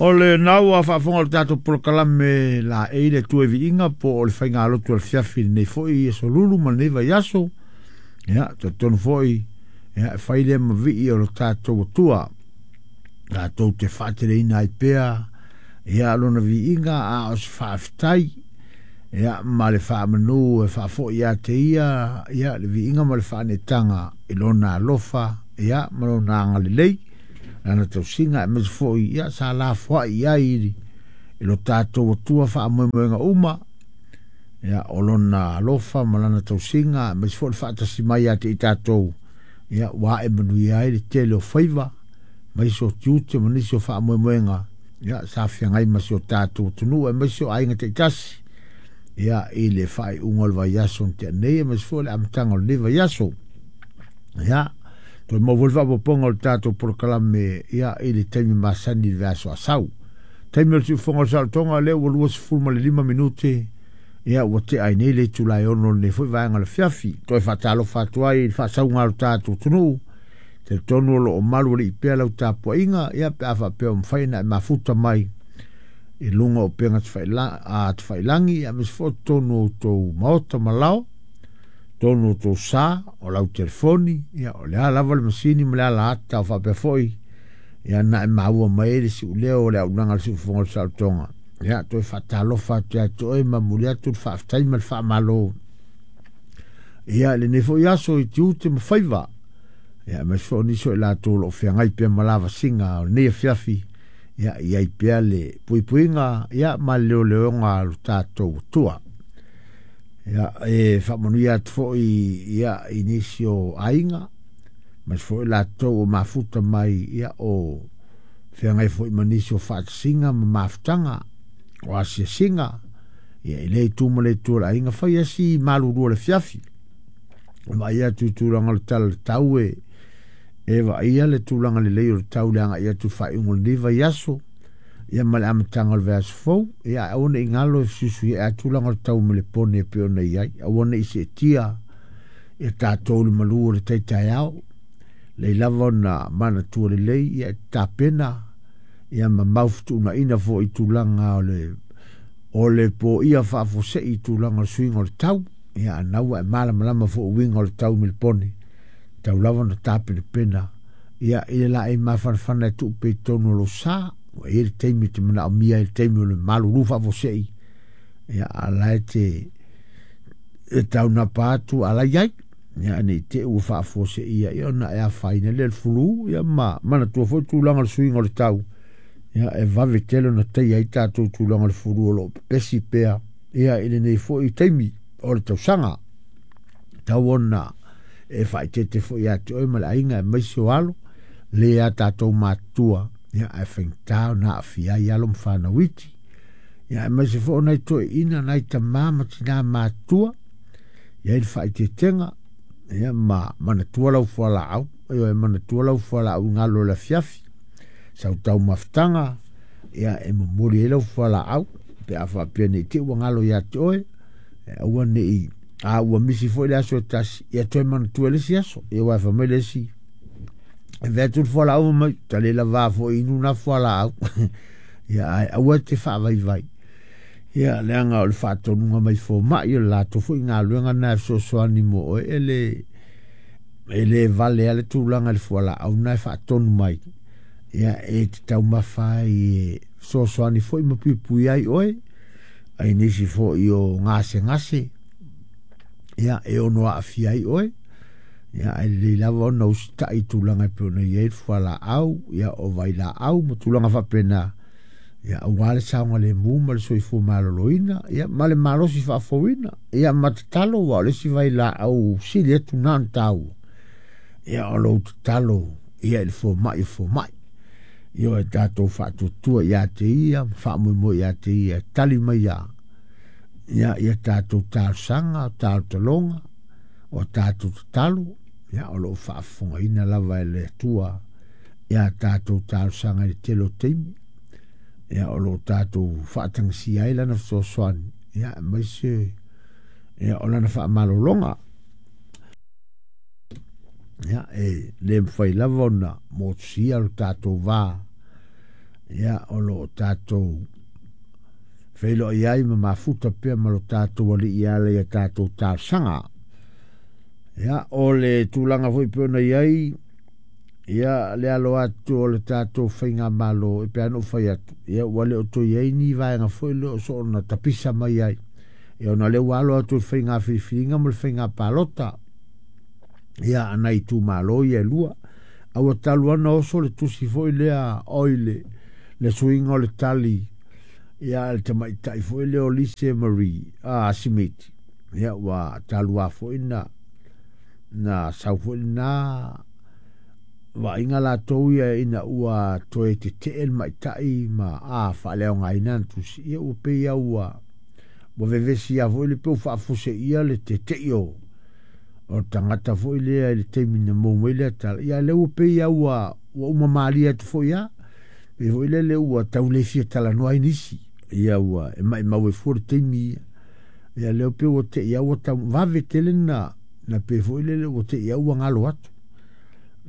O lena ua faafofoga o le tatou polokalame laei le Atua i viiga po o le faigalotu a le afiafi i lenei foi aso lulu ma lenei vaiaso. Ia, talitonu foi, ia, e fai lea ma vii o lo tatou Atua, tatou te faateleina ai pea, ia, lona viiga a o se faafetai, ia, ma le faamanu e faafoi ia te ia, ia, le viiga ma le faaneetaga i lona alofa, ia, ma lona agalelei, lana tausiga, aemaise foi, ia, sa lafoai i ai i lo tatou Atua faamoemoega uma, ia, o lona alofa ma lana tausiga, aemaise foi le faatasi mai ia te i tatou, ia, ua ae manuia ai le tele o faiva, aemaise o tiute ma nisi o faamoemoega, ia, sa feagai ma si o tatou atunuu, aemaise o aiga taitasi, ia, i le faaiuga o le vaiaso na tea nei, aemaise foi o le amataga o lenei vaiaso. Ia, toe maua foi le faaopoopoga o le tatou polokalame, ia, i le taimi masani i le vaiaso a sau. Taimi o le siufofoga o le saolotoga, lea ua 25 minute, ia, ua tea ai nei le itula e 6 o lenei foi vaega o le afiafi. Toe faatalofa atu ai i le faasauga o le tatou atunuu, talitonu o lo o malu alii pea lau tapuaiga, ia, pe a faapea ua mafai ona e mafuta mai i luga o upega tafailagi, ia, aemaise foi o totonu o outou maota ma lao, totonu o outou sa, o lau telefoni, ia, o le a lava le masini ma le ala ata o faapea foi, ia, na e maua mai ai le siuleo o le auaunaga a le siufofoga o le saolotoga. Ia, toe faatalofa atu ia te oe ma momoli atu le faafetai ma le faamalo, ia, i lenei foi aso i tiute ma faiva, ia, aemaise foi o nisi o i latou o lo o feagai pea ma lavasiga o lenei afiafi, ia, i ai pea le puipuiga, ia, ma le leoleoga a lo tatou Atua. Ia, e faamanuia atu foi, ia, i nisi o aiga, aemaise foi latou o mafuta mai, ia, o feagai foi ma nisi o faatasiga ma mafutaga, o asiasiga, ia, i lea itu ma le itu o le aiga, fai asi malulu o le afiafi. Vaai atu i tulaga o le tala o le tau e vaaia le tulaga lelei o le tau le agai atu i le faaiuga o lenei vaiaso, ia, ma le amataga o le vaiaso fou. Ia, aua ne i galo e fesuisuiai a tulaga o le tau melepone e pei ona i ai, aua ne i seetia ia tatou le malu o le tai taeao, lei lava ona manatua lelei, ia, e tapena, ia, ma maufutuunaina foi i tulaga o le poia faafuasei i tulaga o le suiga o le tau. Ia, anau ua e malamalama foi uiga o le tau melepone, tau lava ona tapenapena, ia, i le laei mafanafana e tuupe i totonu o lou sa, ua i ai le taimi e te manaomia ai le taimi o le malulu faafuasei, ia, a la e te e taunapa atu ala i ai, ia, nei te ua faafuaseia, ia, ona e afaina lea le fulu, ia, ma manatua foi tulaga o le suiga o le tau, ia, e vave tele ona taia ai tatou tulaga o le fulu o lo o pepesi pea, ia, i lenei foi taimi o le tausaga. Tau ona e faaeteete foi ia te oe ma le aiga, aemaise o alo, le a tatou matutua, ia, ae faigata ona aafia ai alo ma fanau iti, ia, aemaise foi o nai toeaiina, nai tamā ma tinā matutua, i ai le faaeteetega, ia, ma manatua lau fualaau, ioe, manatua lau fualaau i galo o le afiafi, sau taumafataga, ia, e momoli ai lau fualaau, pe a faapea nei te i ua galo ia te oe, e aua ne i a ua misi foi le aso e tasi, ia toe manatua i le isi aso. Ia, aua e fai mai le isi, e vea atu le fualaau mai, ta le lava foi inu na fualaau. Ia, ae aua te faavaivai. Ia, leaga o le faatonuga mai fomai, o le latou foi galuega na e fesoasoani mo oe, e le vale a le tulaga i le fualaau na e faatonu mai. Ia, e te taumafa ai e fesoasoani foi ma puipui ai oe, ai nisi foi o gasegase, ia, e ono aafia ai oe. Ia, ae lelei lava ona usitai i tulaga e pei ona i ai le fualaau, ia, o vailaau ma tulaga faapena, ia, aua le saogalemu ma le soifua maloloina, ia, ma le malosi faafouina, ia, ma tatalo, aua o le isi vailaau sili atu na ona taua, ia, o lou tatalo, ia, i le fomai o fomai. Ia, e tatou faatuatua ia te ia, ma faamoemoe ia te ia, e tali mai ia, ia, ia tatou talosaga, talotaloga, o tatou tatalo, ia, o lo o faafofogaina lava e le Atua ia tatou talosaga i le tele o taimi, ia, o lo o tatou faatagisia ai lana fesoasoani, ia, aemaise, ia, o lana faamalologa. Ia, e le mafai lava ona motusia lo tatou va, Ia, o lo o tatou feiloai ai ma mafuta pea ma lo tatou Alii e ala i a tatou talosaga. Ia, o le tulaga foi pei ona i ai, ia, le alo atu o le tatou faigamalo, e pei lava ona ou fai atu, ia, ua le o toe i ai ni vaega foi lea o soona tapisa mai ai, ia, ona o lea ua alo atu i le faiga filifiliga ma le faiga palota, ia, a nai itumalo ia e lua. A ua talu lava ona oso le tusi foi lea, oi le, le suiga o le tali, ia, a le tamaitai foi lea o Lise Marie Simiti, ia, ua talu lava foi na na sau foi lena vaaiga latou ia ina ua toe tetee le ma'itai ma a faaleaogaina ana tusi, ia ua pei lava ua ua vevesi lava foi le pe ua faafuaseia le tete'i o o le tagata foi lea i le taimi na maua mai lea tala, ia a o lea ua pei lava ua ua uma malie atu foi lava, pei foi lele ua tau le fia talanoa ai nisi, ia ua e maimau ai fua le taimi ia. Ia lea pei ua te i lava ua tau vave tele na na pei foi lele ua te i lava ua galo atu.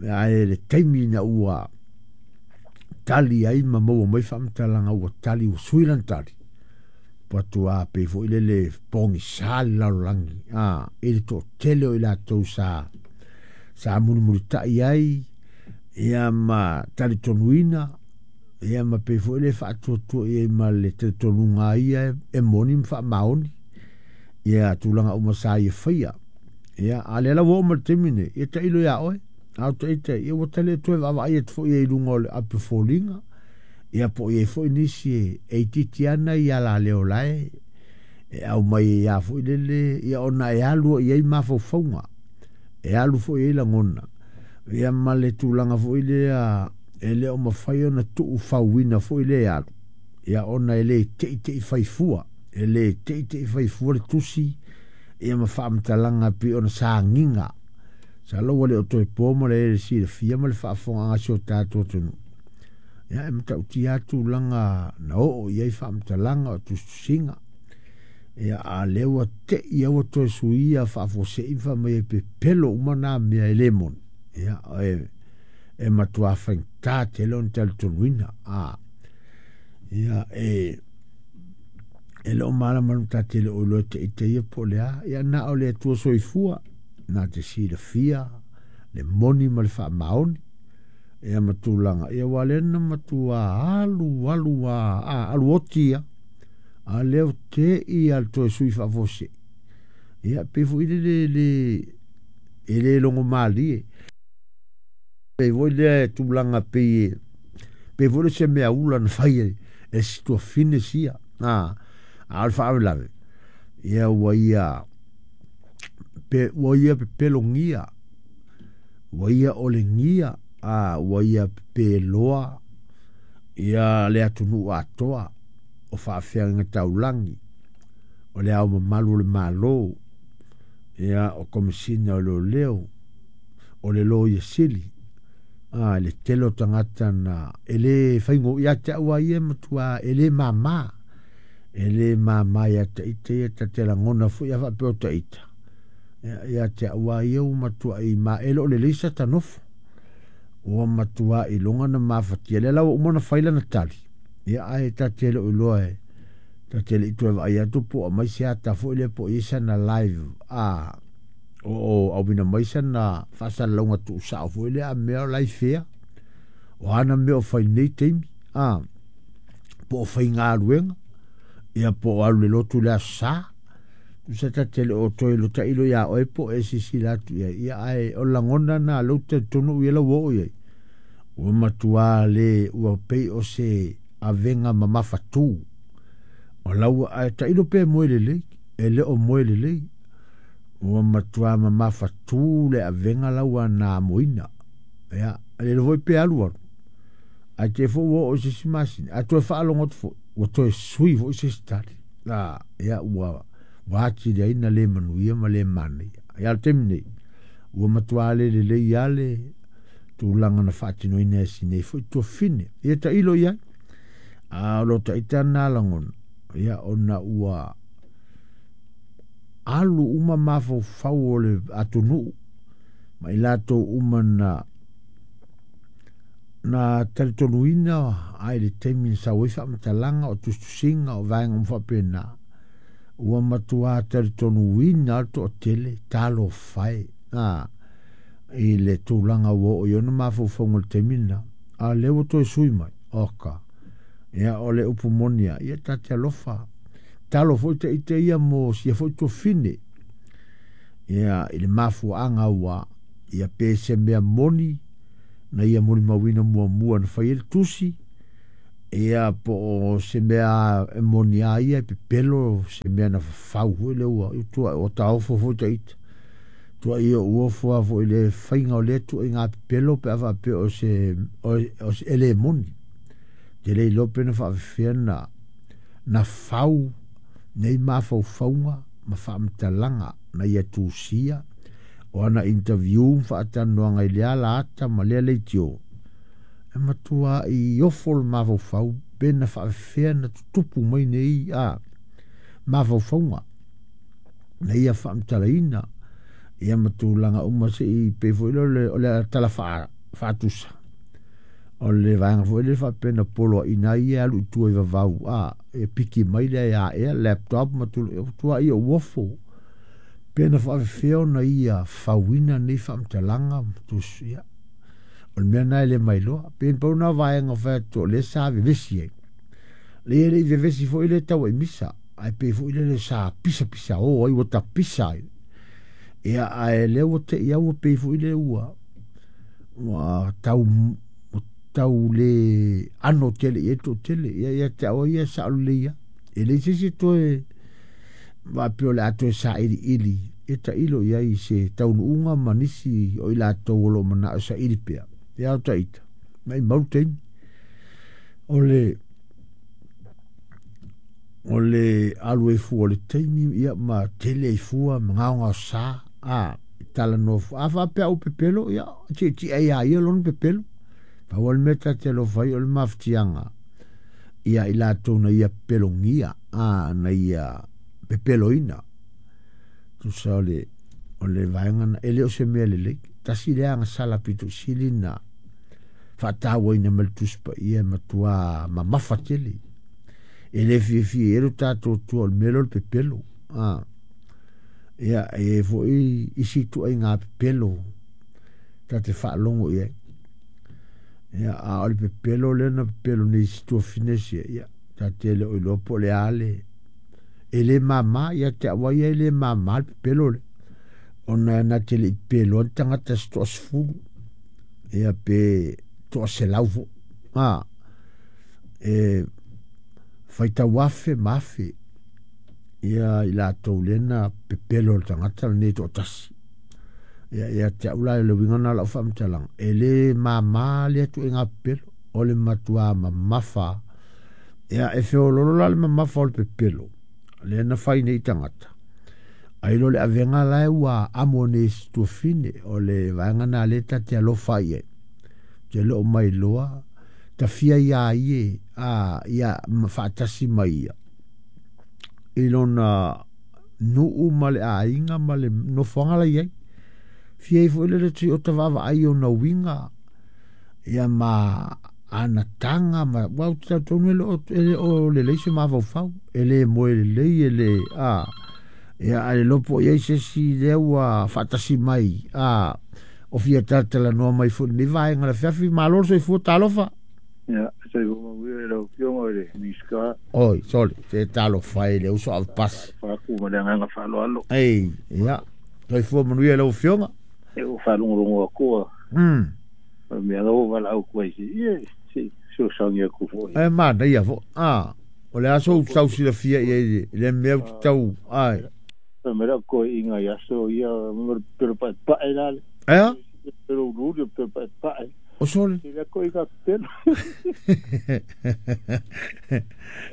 Ae le taimi ina ua tali ai ma maua mai faamatalaga ua tali ua sui lana tali, ua matua pei foi lele pogisa le lalolagi a i le toatele o i latou sa sa mulimulitai ai ia ma talitonuina ia ma pei foi le faatuatua i ai ma le talitonuga ia e moni ma faamaoni ia tulaga uma sa ia faia. Ia, a o lea la ua oo mai le taimi nei, ia tailo ia oe, a o taita, ia ua ta le toe vaavaai atu foi i luga o le api o foliga, ia po o i ai foi nisi e itiiti ana i alaleo la e e aumai ai lava foi lele, ia ona e alu i ai mafaufauga, e alu foi i ai lagona, ia ma le tulaga foi lea e le o mafai ona tuufauina foi lea e alu, ia ona e le teitei fai fua, e le teitei fai fua le tusi, ia ma faamatalaga pei ona sa agiga. Masalo ua le o toe po ma le silafia ma le faafofogaaga a si o tatou atunuu. Ia e matautia lava tulaga na oo i ai faamatalaga o tusitusiga. Ia a o lea ua te i lava ua toe suia faafuasei ma fai mai e pepelo uma na mea e le moni. Ia e, e matua faigata tele ona talitonuina. A, ia e, e le o malamalama ta te le o iloa te ita ia po o le a. Ia na o le Atua soifua na te silafia le moni ma le faamaoni. Ia ma tulaga, ia aua o lea na matua alu alu lava, a, alu oti lava. A o lea ua te'i lava i le toe sui faafuasei. Ia pei foi lele e le, e le logomalie. Pei foi lea e tulaga pei e, pei foi lea o se meaula na fai e, e si tuafafine sia. A, a o le faalavelave, ia ua ia, pe, ua ia pepelogia, ua ia olegia, a, ua ia pepeloa ia le atunuu atoa o faafeagaiga taulagi, o le Ao Mamalu o le Malo, ia, o Komesina o Leoleo, o le Loia Sili, a, le tele o tagata na e le faigo ia te au lava ia e matua e le mama. E le mama ia te ita ia ta te lagona foi a faapea o ta ita. Ia, ia te au lava ia ua matuai ma e le o lelei sa ta nofo. Ua matua iloga na mafatia. Lea la ua uma ona fai lana tali, ia ae ta te le o iloa e ta te le i toe vaai atu po o aumai se ata foi lea po o i ai sana live a o o auina mai sana faasalalauga tuusao foi lea a mea o la e i fea. O a na mea o fai i lenei taimi, a po o faigaluega, ia po o alu i le lotu i le Aso Sa. Tusa ta te le o toe tailo ia oe po o e silasila atu i ai, ia ae o le lagona lena o lea ou te talitonu au ia la ua oo i ai, ua matua le, ua pei o se avega mamafatū. O la ua, ae tailo pe moe lelei, e le o moe lelei. Ua matua mamafatū le avega la ua na amoina. Ia, e le iloa foi pe alu alu, ae te i foi ua oo i se isi masina, ae toe faalogo atu foi, ua toe sui foi se isi tali. A, ia, ua, ua atili ai na le manuia ma le manaia. Ia, a o le taimi nei, ua matua le lelei lava le tulaga na faatinoina e si nei foi tuafafine. Ia tailo i ai. A o lo ta ita lena lagona, ia, ona ua alu uma mafaufau o le atunuu ma i latou uma na Na talitonuina ai le taimi na sau ai faamatalaga o tusitusiga o vaega uma faapena, ua matuā talitonuina lava le toatele, talofa e, a, i le tulaga ua oo i ona mafaufauga i le taimi lena, a o lea ua toe sui mai, oka, ia o le upu moni lava, ia ta te alofa, talo foi ta ita ia mo sia foi tuafine, ia i le mafuaaga ua ia pe se mea moni na ia molimauina muamua na fai ai le tusi, ia po o se mea e moni a ia e pepelo se mea na fafau foi lea ua tua ua taofo foi ta ita. Tua ia ua ofo lava foi i le faiga o lea tuuaiga pepelo pe a faapea o se o se e le moni. Te le iloa pe na faafefea na na fau nei mafaufauga ma faamatalaga na ia tusia o ana interview ma faatalanoaga i lea alaata ma lea leitio, e matuai ofo le mafaufau pe na faafefea na tutupu mai nei a mafaufauga na ia faamatalaina ia ma tulaga uma se i pei foi lea o le tala faatusa o le vaega foi lea faapea na poloaiina ai ia e alu i tua i vavau a e piki mai lea ia ea laptop ma tulaga ia uofo pe na faafefea ona ia fauina nei faamatalaga ma tusi ia. O le mea lena e le mailoa. Pei na pau lena o vaega fai atu o lea sa vevesi ai. Leai e le i vevesi foi le tau ai misa, ae pei foi lele sa pisapisa o ai ua tapisa ai. Ia ae lea ua te i au pei foi lea ua ua tau tau le ano tele i ai le toatele. Ia ia te au ia e sao lelei lava. E leai se isi e toe faapea o le a toe sailiili e tailo i ai i se taunuuga ma nisi o i latou o lo o manao e saili pea. Ia o taita, maumau le taimi. O le o le alu ai fua o le taimi ia ma tele ai fua ma gaogaosa a talanoa fua. A faapea ou pepelo, ia tietie ai a ia lona pepelo. Pau lava le mea ta te alofa ai o le mafatiaga ia i latou na ia pelogia, a na ia pepeloina. Tusa o le o le vaega na e le o se mea lelei. Tasi lea agasala pito sili na faatauaina mai le Tusi Paia e matuā mamafa tele. E le fiafia i ai lo tatou Atua o le mea lea o le pepelo. A, ia, e i ai foi isi ituaiga pepelo ta te faalogo i ai. Ia, a o le pepelo lea na pepelo nei si tuafine sia, ia, ta te le o iloa po o le a le e le māmā ia te au ia e le māmā le pepelo lea. Ona na te le i pepeloa ni tagata se toasefulu, ia pe toaselau foi. A, e faitau afe ma afe ia i latou lea na pepelo le tagata lenei toatasi. Ia, ia te au la le uiga na o lau faamatalaga, e le māmā lea tuuaiga pepelo, o le matuā mamafa. Ia, e feololo la le mamafa o le pepelo, lea na fai nei tagata. Ai lo le avega la e ua amo nei e si tuafine, o le vaega na lea ta te alofa i ai. Te leo mai loa, tafia ia ie, a, ia faatasi mai ia. I lona nuu ma le aiga ma le nofoaga la i ai. Fia ai foi lele tui o ta vaavaai i ona uiga, ia ma ana taga ma, ua ou te talitonu e le o, e le o lelei se mafaufau, e le moe lelei, e le, a, ia, a le iloa po o i ai se isi lea ua faatasi mai, a, o fia talatalanoa mai foi i lenei vaega o le afiafi. Malo le soifua, talofa. Ia, soifua manuia i lau Afioga i le Minisita. Oi, sole, se talofa e le uso avepasi. Faatu ma le agaga faaaloalo. Ei, ia, soifua manuia i lau Afioga. E ua faalogologo atu a. O le mea lava ua valaau atu ai se ia, se i fesoasoani atu foi. E manaia foi. A, o le a sou tau silafia i ai i le mea ou te tau, ai. Fai mai lau toeaiina i aso ia, pelo paepae la le. Ea? Pelo uluulu, pelo paepae. O sole. Te lea toeaiina pelo.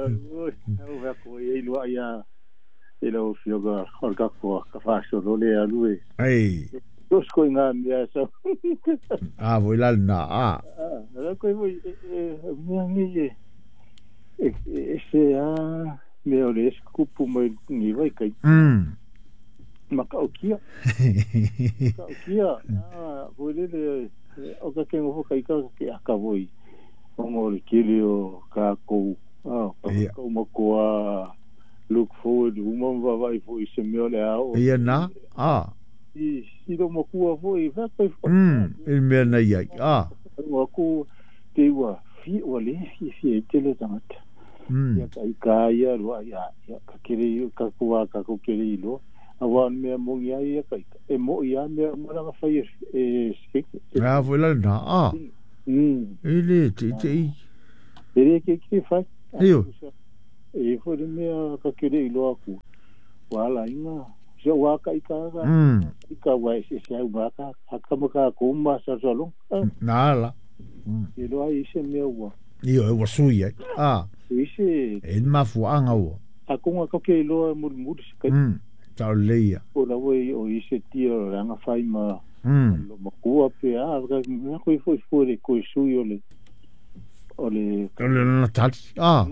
Oi, au fai atu ai lua ia i lau Afioga o le tatou faasolo lea alu e. Ei. Los ko ngā mea sa. A voi la na a. A, la koe voi e mea nei e e se a mea o le esi kupu mai ni vai kai. Makaukia. Makaukia. Ah, voi lele O ka ke ngofo kai ka ke akavoi. O ngore kili o ka kou. Ia. Ka makoa look forward uma vava i fo i se mea le ao. Ia na. A. I si lo makua fo i fa kai fo. I mea nei ai. A. Ua ku te ua fi ua le fi fi e tele tangata. Ia ka i ka ia rua ia ia ka kere ka kua ka ko kere i lo. Awa mea mongi ai ia ka e mo ia mea maranga fai e spik. A foi la na. A. E le te te i. E le ke ke fai. Io. E foi le mea ka kere i lo aku. Wala inga. Se wa ka i ka ka. I ka wa se se au ma ka ka ma ka ko ma sa sa lo. Na la. E lo ai se mea ua. Io e wasui ai. A. E se E mafuanga ua. a konga ka ke loa muri se kai. Tau leia. O la wei o i se tia o ranga whai ma lo makua pe a ka mea koe foi foi le koe sui o le o le O le na tali. A.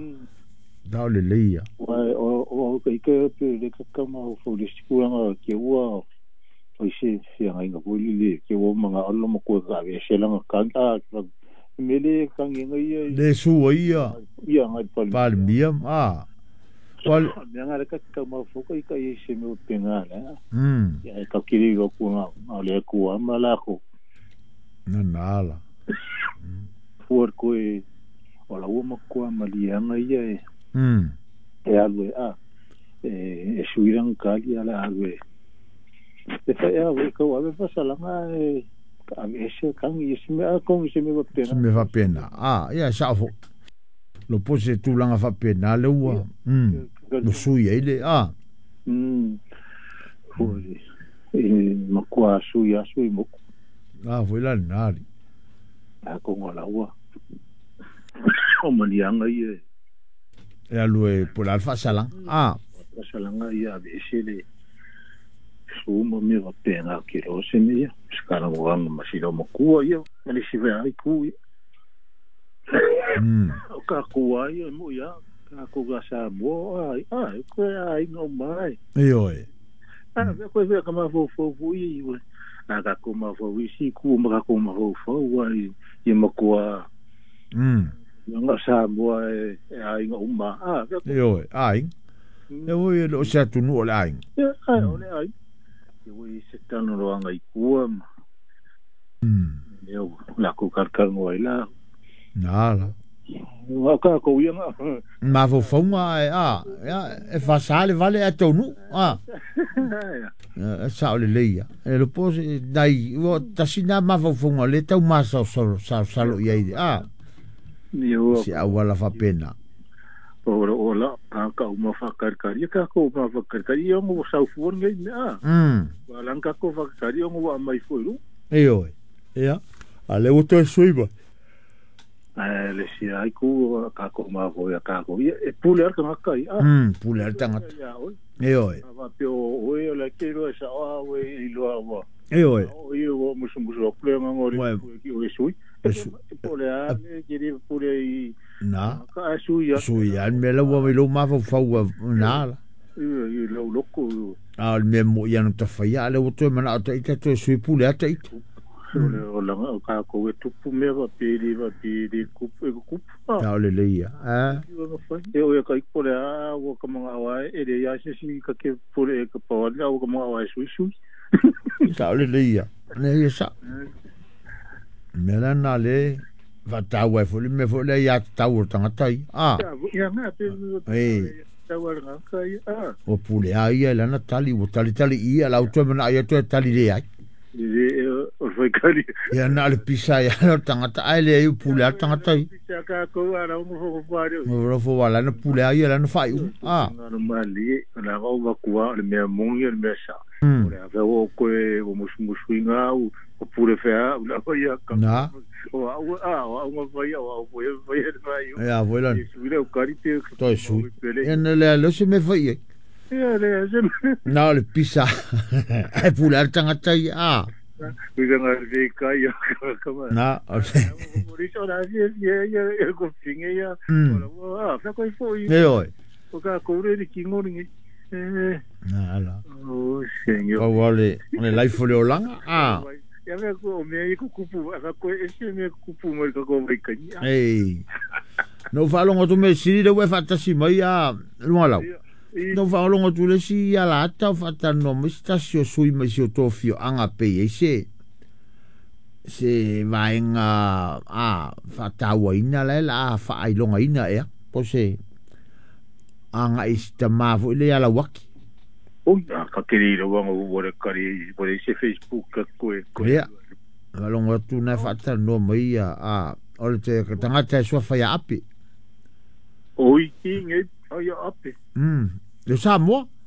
Tau le leia. Wa o ka ike pe le kakama o fo le sikuranga ke ua o i se whianga inga po le ke ua manga olo makua ka ve se langa kanga mele kangi ia Le sua ia. Ia ngai pali. Palmia. A. Wal mea ngā reka ka mafuka i ka i se mea penga la. Ia ka kiri ro ku ngā le ku ama la ko. Na na la. Fuar koe o la ua makua malianga ia e. E alu e a. E suirang kali ala alu e. E fa e awe ka awe fasalanga e ka ese kangi i se mea kongi se mea pena. Se mea pena. A ia sa fo. Lo pose tūlanga whapena le ua. No sui ai le, a. Foi, e makua sui a sui moku. A, foi la nari. A konga la ua. O manianga ia. E alu e pula alfa salang. A. Salanga ia a vese le. Suma me wapena ki rose me ia. Skara moanga masira makua ia. Mani siwe ai ku ia. O ka kua ia mo ia. Ka kua sa mo ai ai koe ai ngau mai. Io e. A koe vea ka mafau fau i ue. A ka ko mafau i si ku ma ka ko mafau fau ai i makua. Nga sa mo e ai ngau ma. A io e ai. E voi lo se atu nu o le ai. Ai o le ai. E voi se tanu roanga i kua ma. Io la ku karkar ngoi la. Na la. Nga ka ko ia nga. Ma fo fonga e a ia e fa sale vale a tonu a. E sa o le leia. E lo pose dai o tasina ma fo fonga le tau ma sa sa sa lo ia i a. Io si awala fa pena. O la ka uma fa karkari ka ko ma fa karkari o mo sa fu ngai me a. Wa lan ka ko fa karkari o mo mai fu ru. Io. Ia. A le o te suiba. Le si ai ku ka ko ma fo ya ka ko e pule ar ka kai a. Pule ar tanga. Io. Va pe o e la ke ro sa a we i lo wa. Io. O i o musu musu pule ngori ki o sui. Pule a le ke pule i na. Ka sui ya. Sui ya me la wa lo ma fo fau na la. I lo loko. A me mo ia no ta fa ya le o te mana ta ita te sui pule ata ita. O la ka ko e tupu me va pili kupu e kupu. Ta le leia. A. E o e ka pole a o ka manga wa e le ya se si ka ke pole e ka pa wa o ka manga wa sui sui. Ta le leia. Ne ia sa. Me la na le va ta wa fo le me fo le ya ta o tangata i. A. Ia na te. E. Ta wa nga ka i a. O pule a ia la na tali o tali tali i la o te mana ia te tali le ai. O foi kari. Ia na le pisa ia no tangata ai le i pule a tangata i. Pisa ka ko ara o mo fo. Mo fo wala na pule a ia la na fai u. A. Na mali na o va kua le mea mongi le mea sa. O le ave o koe o musu musu inga o pule fea o la ia ka. Na. O a o ma vai o o vai vai. Ia voi la. Sui le o kari te. Toi sui. Ia na le lo se me fai. Ia le se. Na le pisa. Ai pule a tangata i a. Kuisa ngā te kai a kama. Na. Moriso rā si ia ia ko finge ia. Ora a fa koi foi. E oi. O ka kore ri ki ngori ngi. Na ala. O senhor. O wale, le life le olanga. A. Ia mea ko o mea i kukupu, a ko e se mea kukupu mai ka ko mai kani. Ei. No faalogo atu me sili le ua e faatasi mai a luga lau. No faalogo atu le isi ia la ata o faatalanoa mai se tasi o sui mai si o tō fioaga pei ai se vaega a faatauaina la e la a faailogaina ea po se agai i si tamā foi le ia lauaki. Oi, a ka keri le wanga ua le kari, ua le se Facebook ka koe. Koe. Ia. Faalogo atu na e faatalanoa mai ia a o le te tagata e suafa ia Ape. Oi, ki ngai, ai ape. Le Samoa.